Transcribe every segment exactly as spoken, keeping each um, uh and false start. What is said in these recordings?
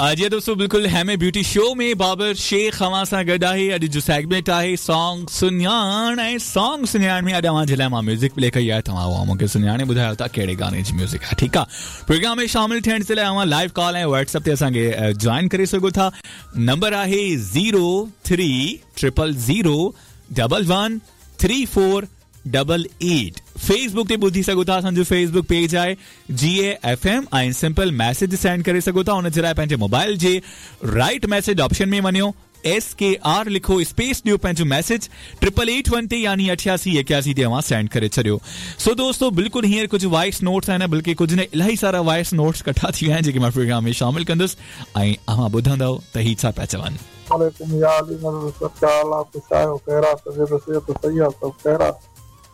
जी दोस्तों, बिल्कुल हैमे beauty show में बाबर शेख अवां सां गॾु आहे। अॼु जो सेगमेंट आहे सॉन्ग सुञाण, ऐं सॉन्ग सुञाण में अॼु अवां जे लाइ मां म्यूज़िक प्ले कई आहे। तव्हां उहा मूंखे सुञाणे ॿुधायो था कहिड़े गाणे जी म्यूज़िक आहे। ठीकु आहे, प्रोग्राम में शामिल थियण जे लाइ अवां लाइव कॉल ऐं व्हाट्सएप ते असांखे जॉइन करे सघो था। नंबर आहे zero three triple zero double one three four double eight. Facebook ते ॿुधी सघो था, असांजो फेसबुक पेज आहे जी ए एफ एम, ऐं सिंपल मैसेज सेंड करे सघो था। उन जे लाइ पंहिंजे मोबाइल जे राइट मैसेज ऑप्शन में वञो, एस के are लिखो, स्पेस ॾियो पंहिंजो मैसेज ट्रिपल एट वन ते यानी अठासी एकासी ते अवां सेंड करे छॾियो। सो दोस्तों, बिल्कुलु हींअर कुझु वॉइस नोट्स आहिनि, बल्कि कुझु न इलाही सारा वॉइस नोट्स कठा थी विया आहिनि जेके मां प्रोग्राम में शामिल कंदुसि ऐं अवां ॿुधंदव त ही छा पिया चवनि।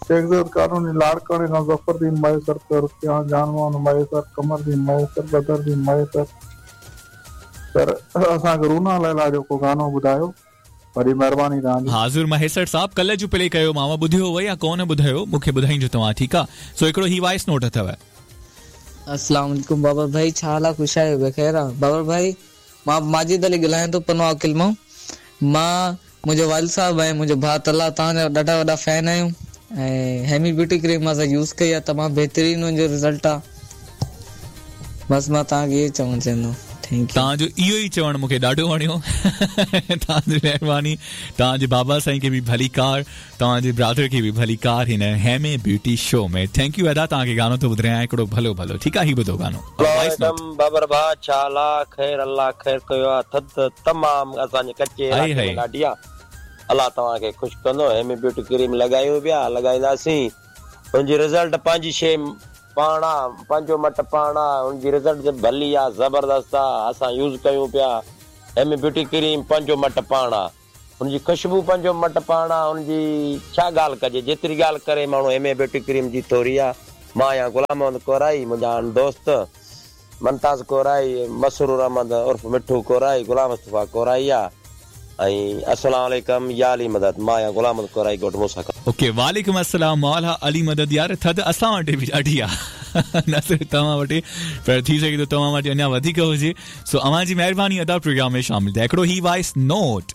शेखजद कानूनी लाड़काणे खां ज़फ़रदीन मयसर पियो जानवान मयसर कमरदीन मयसर बदरदीन मयसर। सर असांखे रूना लैला जो को गानो ॿुधायो, वॾी महिरबानी तव्हांजी। हाज़ुर महेसर साहब, कल्ह जो प्ले कयो मां ॿुधियो हुओ या कोन ॿुधायो, मूंखे ॿुधाईजो तव्हां। ठीकु आहे, सो हिकिड़ो ही वॉइस नोट अथव। अस्सलाम वालेकुम बाबर भाई, छा हाल आहे? ख़ुशि आहियो? बेख़ैर आहे? बाबर भाई, मां माजिद अली ॻाल्हायां थो पनो अकिल मां। मां मुंहिंजो वालिद साहिबु ऐं मुंहिंजो भाउ तला तव्हांजा ॾाढा वॾा फैन आहियूं ऐं हेमी ब्यूटी क्रीम असां यूज़ कई आहे, तमामु बहितरीन हुनजो रिज़ल्ट आहे। बसि मां तव्हांखे इहो चवणु चाहींदो। Thank you. तव्हांजो इहो ई चवणु मूंखे ॾाढो वणियो। तव्हांजी महिरबानी। तव्हांजे बाबा साईं खे बि भलीकार, तव्हांजे ब्रादर खे बि भलीकार हिन हेमे ब्यूटी शो में। Thank you अदा, तव्हांखे गानो थो ॿुधायां हिकिड़ो भलो भलो। ठीकु आहे, ही ॿुधो गानो। बाबर भाउ, छा हाल आहे? ख़ैर अल्लाह ख़ैर कयो आहे। थधि तमामु असांजे कच्चे इलाइक़े में ॾाढी आहे। अल्लाह तव्हांखे ख़ुशि कंदो। हेमी ब्यूटी क्रीम लॻायूं पिया, लॻाईंदासीं, हुनजी रिज़ल्ट पंहिंजी शइ पाण आहे, पंहिंजो मटु पाण आहे, हुनजी रिज़ल्ट भली आहे, ज़बरदस्त आहे। असां यूज़ कयूं पिया हेमी ब्यूटी क्रीम, पंहिंजो मटु पाण आहे, हुनजी ख़ुशबू पंहिंजो मटु पाण आहे, हुनजी छा ॻाल्हि कजे, जेतिरी ॻाल्हि करे माण्हू हेमे ब्यूटी क्रीम जी थोरी आहे। मां आहियां ग़ुलाम मोहम्मद कोराई, मुंहिंजा दोस्त मुमताज़ कोराई, मसरूर अहमद उर्फ़ मिठू कोराई, ग़ुलाम मुस्तफ़ा कोराई आहे। ऐं अस्सलाम वालेकुम या अली मदद। मां आहियां ग़ुलाम मोहम्मद कोराई, ॻोठु मूसा खां। ओके, वालेकुम अस्सलाम मौला अली मदद। यार थधि असां वटि बि ॾाढी आहे, न सिर्फ़ तव्हां वटि, पर थी सघे थो तव्हां वटि अञा वधीक हुजे। सो अव्हां जी महिरबानी अदा प्रोग्राम में शामिल थिया। हिकिड़ो ही वॉइस नोट।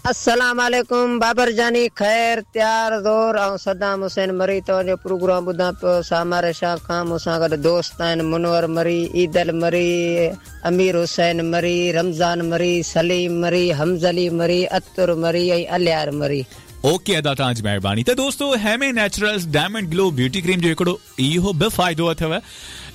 अस्सलाम वालेकुम बाबर जानी, ख़ैर त्यार ज़ोर। ऐं सदाम हुसैन मरी तव्हांजो प्रोग्राम ॿुधां पियो सामारे शाह खां। मूंसां गॾु दोस्त आहिनि मुनवर मरी, ईदल मरी, अमीर हुसैन मरी, रमज़ान मरी, सलीम मरी, हमज़ली मरी, अतुर मरी ऐं अलियार मरी। ओके अदा, तव्हांजी महिरबानी। त दोस्तो, Heme naturals diamond glow beauty cream जो हिकिड़ो इहो बि फ़ाइदो अथव,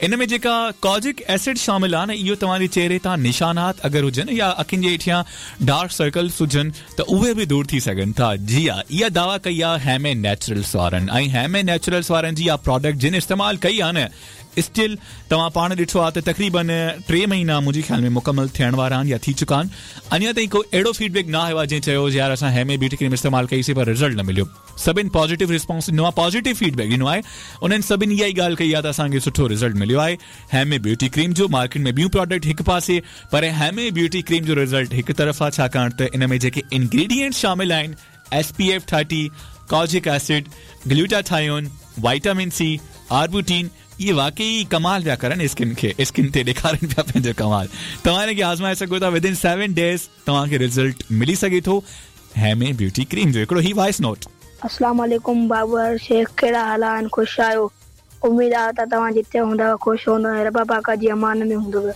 इन में जेका कॉजिक एसिड शामिल आहे न, इहो तव्हांजे चेहरे तां निशानात अगरि हुजनि या अखियुनि जे हेठियां डार्क सर्कल्स हुजनि त उहे बि दूर थी सघनि था। जी हा, इहा दावा कई आहे हेमे नेचुरल्स वारनि। ऐं हेमे नेचुरल्स वारनि जी इहा प्रोडक्ट जिन इस्तेमालु कई आहे न, स्टिल तव्हां पाण ॾिठो आहे त तक़रीबन टे महीना मुंहिंजे ख़्याल में मुकमल थियण वारा आहिनि या थी चुका आहिनि। अञा ताईं को अहिड़ो फीडबैक न आयो आहे जंहिं चयो यार असां हेमे ब्यूटी क्रीम इस्तेमालु कईसीं पर रिज़ल्ट न मिलियो। सभिनि पॉज़िटिव रिस्पॉन्स ॾिनो आहे, पॉज़िटिव फीडबैक ॾिनो आहे। उन्हनि सभिनि इहा ई ॻाल्हि कई आहे त असांखे सुठो रिज़ल्ट मिलियो आहे हेमे ब्यूटी क्रीम जो। मार्केट में ॿियूं प्रोडक्ट हिकु पासे, पर हेमे ब्यूटी क्रीम जो रिज़ल्ट हिकु तरफ़ आहे, छाकाणि त इन में जेके इनग्रीडियंट्स शामिल आहिनि, S P F thirty, kojic acid, glutathione, vitamin C, arbutin, इहे वाकई कमाल पिया करनि स्किन खे, स्किन ते ॾेखारनि पिया पंहिंजो कमाल। तव्हां हिनखे आज़माए सघो था, विद इन सेवन डेज़ तव्हांखे रिज़ल्ट मिली सघे थो हेमे ब्यूटी क्रीम जो। हिकिड़ो ही वॉइस नोट। अस्सलाम वालेकुम बाबर शेख, कहिड़ा हाल आहिनि? ख़ुशि आहियो? उमेद आहे त तव्हां जिते हूंदव ख़ुशि हूंदव ऐं रब पाक जी अमान में हूंदव।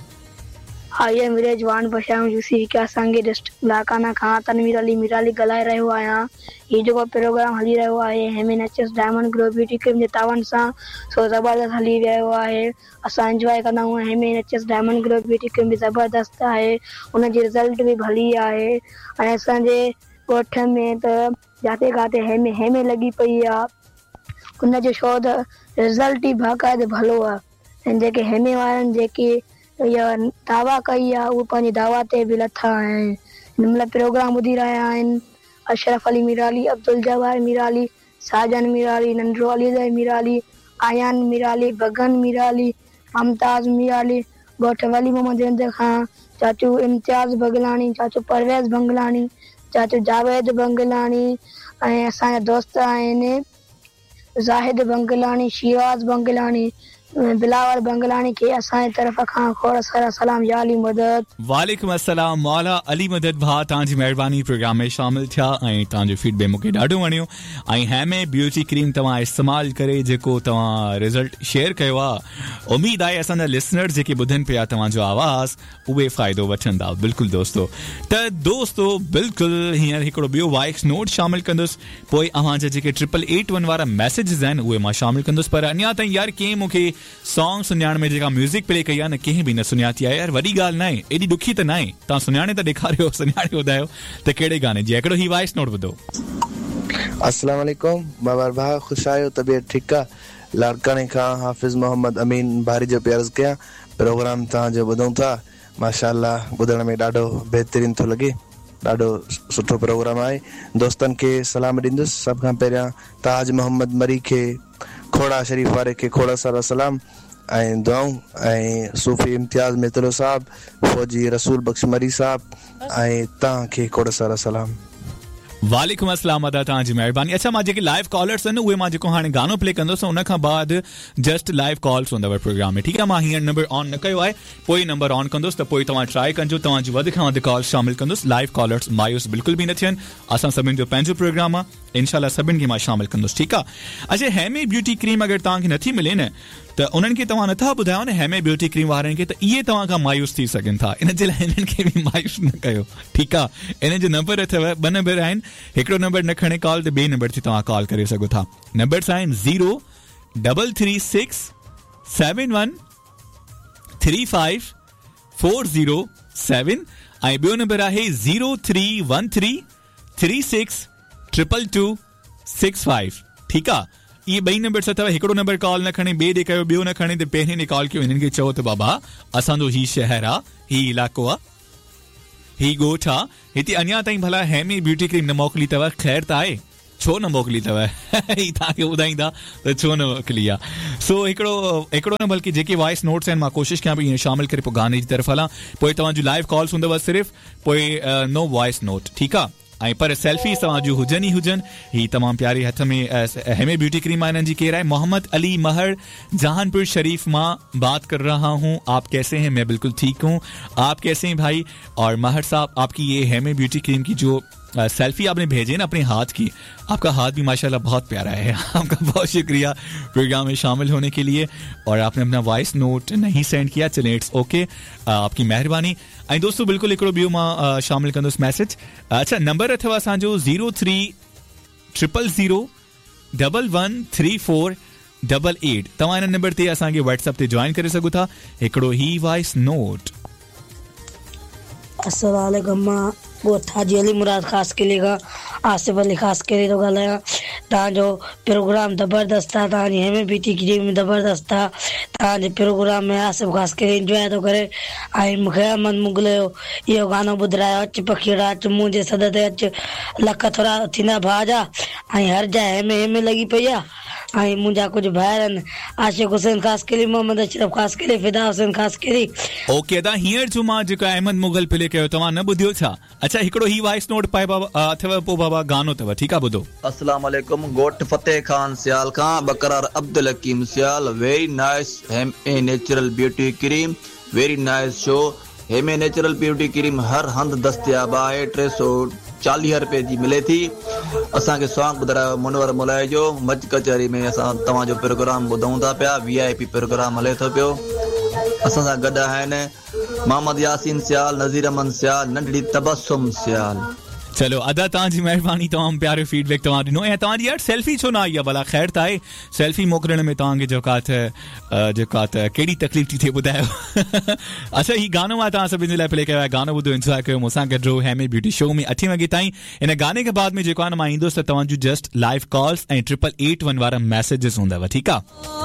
I am village वान बशायूं जूसी क्या सांगी डिस्ट्रिक्ट लाकाना खां तनवीर अली मीराली ॻाल्हाए रहियो आहियां। हीउ जेको प्रोग्राम हली रहियो आहे Heme naturals diamond glow beauty cream जे तावन सां, सो ज़बरदस्त हली रहियो आहे। असां इंजॉय कंदा आहियूं। Heme naturals diamond glow beauty cream बि ज़बरदस्त आहे, हुनजी रिज़ल्ट बि भली आहे। ऐं असांजे ॻोठ में त जाते खाते हेमे हेमे लॻी पई आहे, हुनजो शो त रिज़ल्ट ई बाक़ाइदे भलो आहे। ऐं जेके हेमे वारनि जेकी इहा दावा कई आहे, उहे पंहिंजी दावा ते बि लथा आहिनि। हिन महिल प्रोग्राम ॿुधी रहिया आहिनि अशरफ अली मीराली, अब्दुल जवार मीराली, साजन मीराली, नंढो अली मीराली, आयान मीराली, बगन मीराली, मुमताज़ मीराली, ॻोठ वली मोहम्मद रिंद खां चाचू इम्तियाज़ बगलाणी, चाचू परवेज़ बंगलाणी, चाचू जावेद बंगलाणी ऐं असांजा दोस्त आहिनि ज़ाहिद बंगलाणी, शिराज़ बंगलाणी, बिलावल बंगलानी खे असांजे तरफ़ खां खोड़ सारा सलाम या अली मदद। वालेकुम अस्सलाम मौला अली मदद भाउ तव्हांजी महिरबानी प्रोग्राम में शामिल थिया ऐं तव्हांजो फीडबैक मूंखे ॾाढो वणियो ऐं हैमे ब्यूटी क्रीम तव्हां इस्तेमालु करे जेको तव्हां रिज़ल्ट शेयर कयो आहे उम्मीद आहे असांजा लिसनर जेके ॿुधनि पिया तव्हांजो आवाज़ उहे फ़ाइदो वठंदा। बिल्कुलु दोस्तो त दोस्तो बिल्कुलु हींअर हिकिड़ो ॿियो वॉइस नोट शामिल कंदुसि पोइ अव्हांजा जेके ट्रिपल एट वन वारा मैसेजेस आहिनि उहे मां शामिल कंदुसि पर अञा ताईं यार कंहिं मूंखे सॉन्ग सुञाण में जेका म्यूज़िक प्ले कई आहे न कंहिं बि न सुञाती आहे यार वॾी ॻाल्हि न आहे एॾी ॾुखी त न आहे तव्हां सुञाणे त ॾेखारियो सुञाणे ॿुधायो त कहिड़े गाने जी हिकिड़ो ही वॉइस नोट ॿुधो। अस्सलाम वालेकुम बाबर भाउ ख़ुशि आहियो तबियत ठीकु आहे? लाड़काणे खां हाफ़िज़ मोहम्मद अमीन भारी जो पियो अर्ज़ु कयां प्रोग्राम तव्हांजो ॿुधूं था माशाअल्लाह ॿुधण में ॾाढो बहितरीन थो लॻे ॾाढो सुठो प्रोग्राम आहे। दोस्तनि खे सलाम ॾींदुसि सभ खां पहिरियां ताज मोहम्मद मरी खे खोड़ा शरीफ़ वारे खे खोड़ा सारा सलाम ऐं दुआऊं ऐं सूफ़ी इम्तियाज़ मेतलो साहब फौजी रसूल बख़्श मरी साहब ऐं तव्हांखे खोड़ सारा सलाम। वालेकुम अस्सलाम अदा तव्हांजी महिरबानी। अच्छा मां जेके लाइव कॉलर्स आहिनि उहे मां जेको हाणे गानो प्ले कंदुसि उन खां बाद जस्ट लाइव कॉल्स हूंदव प्रोग्राम में ठीकु आहे। मां हींअर नंबर ऑन न कयो आहे पोइ नंबर ऑन कंदुसि त पोइ तव्हां ट्राई कजो तव्हांजी वधि खां वधि कॉल शामिल कंदुसि। लाइव कॉलर्स मायूस बिल्कुलु बि न थियनि असां सभिनी जो पंहिंजो प्रोग्राम आहे इंशाअल्लाह सभिनी खे मां शामिल कंदुसि ठीकु आहे। अच्छा हेमे ब्यूटी क्रीम अगरि तव्हांखे नथी मिले न त उन्हनि खे तव्हां नथा ॿुधायो न हेमे ब्यूटी क्रीम वारनि खे त इहे तव्हां खां मायूस थी सघनि था इन जे लाइ हिननि खे बि मायूस न कयो ठीकु आहे। इन जो नंबर अथव ॿ नंबर आहिनि हिकिड़ो नंबर न खणे कॉल त ॿिए नंबर ते तव्हां कॉल करे सघो था। नंबर्स आहिनि zero double three six seven one three five four zero seven ऐं ॿियो नंबर आहे zero three one three three six triple two six five ठीकु आहे। इहे ॿई नंबर अथव हिकिड़ो नंबर कॉल न खणे ॿिए ॾे कयो ॿियो न खणे त पहिरीं ॾे कॉल कयो हिननि खे चओ त बाबा असांजो हीउ शहर आहे हीउ इलाइक़ो आहे हीउ ॻोठ आहे हिते अञा ताईं भला हेमी ब्यूटी क्रीम न मोकिली अथव ख़ैर त आहे छो न मोकिली अथव ही तव्हांखे ॿुधाईंदा त छो न मोकिली आहे। सो हिकिड़ो हिकिड़ो न बल्कि जेके वॉइस नोट्स आहिनि मां कोशिशि कयां पई ईअं शामिल करे पोइ गाने जी तरफ़ हलां पोइ तव्हांजो लाइव कॉल्स हूंदव सिर्फ़ पोइ नो वॉइस नोट ठीकु आहे। ऐं पर सेल्फी तव्हांजूं हुजनि ई हुजनि। हीअ तमामु प्यारी हथ में हेमे ब्यूटी क्रीम आहे इन्हनि जी केरु आहे मोहम्मद अली महर जहानपुर शरीफ मां बात कर रहा हूँ आप कैसे हैं? मैं बिल्कुल ठीक हूँ आप कैसे हैं भाई? और महर साहब आपकी ये हेमे ब्यूटी क्रीम की जो सेल्फी आपने भेजे ना अपने हाथ की आपका हाथ भी माशाल्लाह बहुत प्यारा है आपका बहुत शुक्रिया प्रोग्राम में शामिल होने के लिए और आपने अपना वॉइस नोट नहीं सेंड किया चलें it's okay आपकी मेहरबानी। ऐं दोस्तों बिल्कुलु हिकिड़ो ॿियो मां शामिल कंदुसि मैसेज। अच्छा नंबर अथव असांजो zero three triple zero double one three four double eight तव्हां हिन नंबर ते असांखे व्हाट्सएप ते जॉइन करे सघो था। हिकिड़ो ही वॉइस नोट। अस्सलाम वालेकुम मां ॻोठ हाजी अली मुराद ख़ासि क़िले खां आसिफ़ अली ख़ासि क़िले थो ॻाल्हायां। तव्हांजो प्रोग्राम ज़बरदस्त आहे तव्हांजी हेमे ब्यूटी क्रीम ज़बरदस्त आहे तव्हांजे प्रोग्राम में आसिफ़ ख़ासि क़िले इंजॉय थो करे ऐं मूंखे अहमद मुग़ल जो इहो गानो ॿुधारायो अच पखीड़ा अच मुंहिंजे सॾ ते अच लख थोरा थींदा भाउ जा ऐं हर जाइ हेमे हेमे लॻी पई आहे ऐं मुंहिंजा कुझु भाइर आहिनि आशिक़ हुसैन ख़ासि क़िले मोहम्मद अशरफ़ ख़ासि क़िले फ़िदा हुसैन ख़ासि क़िले। ओके अदा हींअर जो मां जेको अहमद मुग़ल प्ले कयो तव्हां न ॿुधियो छा? अच्छा हिकिड़ो ही वॉइस नोट पाए बाबा अथव पोइ बाबा गानो अथव ठीकु आहे ॿुधो। अस्सलाम वालेकुम ॻोठ फ़तेह ख़ान सियाल खां Bakrar Abdul Hakeem Sial very nice Heme natural beauty cream very nice show Heme natural beauty cream हर हंधि दस्तियाब आहे टे सौ चालीह रुपए जी मिले थी। असांखे सॉन्ग ॿुधारायो मुनवर मुलाई जो मच कचहरी में असां तव्हांजो प्रोग्राम ॿुधूं था पिया वी I P programme हले थो पियो। असां सां गॾु आहिनि मोहम्मद यासीन सियाल नज़ीर अहमद सियाल नंढड़ी तबसुम सियाल। चलो अदा तव्हांजी महिरबानी तमामु प्यारो फीडबैक तव्हां ॾिनो ऐं तव्हांजी यार सेल्फी छो न आई आहे भला ख़ैर त आहे सेल्फी मोकिलण में तव्हांखे जेका त जेका त कहिड़ी तकलीफ़ थी थिए ॿुधायो। अच्छा हीउ गानो मां तव्हां सभिनी जे लाइ प्ले कयो आहे गानो ॿुधो इंजॉय कयो मूंसां गॾु रहो हेमे ब्यूटी शो में अठे वॻे ताईं। इन गाने खां बाद में जेको आहे न मां ईंदुसि त तव्हांजूं जस्ट लाइव कॉल्स ऐं ट्रिपल एट वन वारा मैसेजिस हूंदव ठीकु आहे।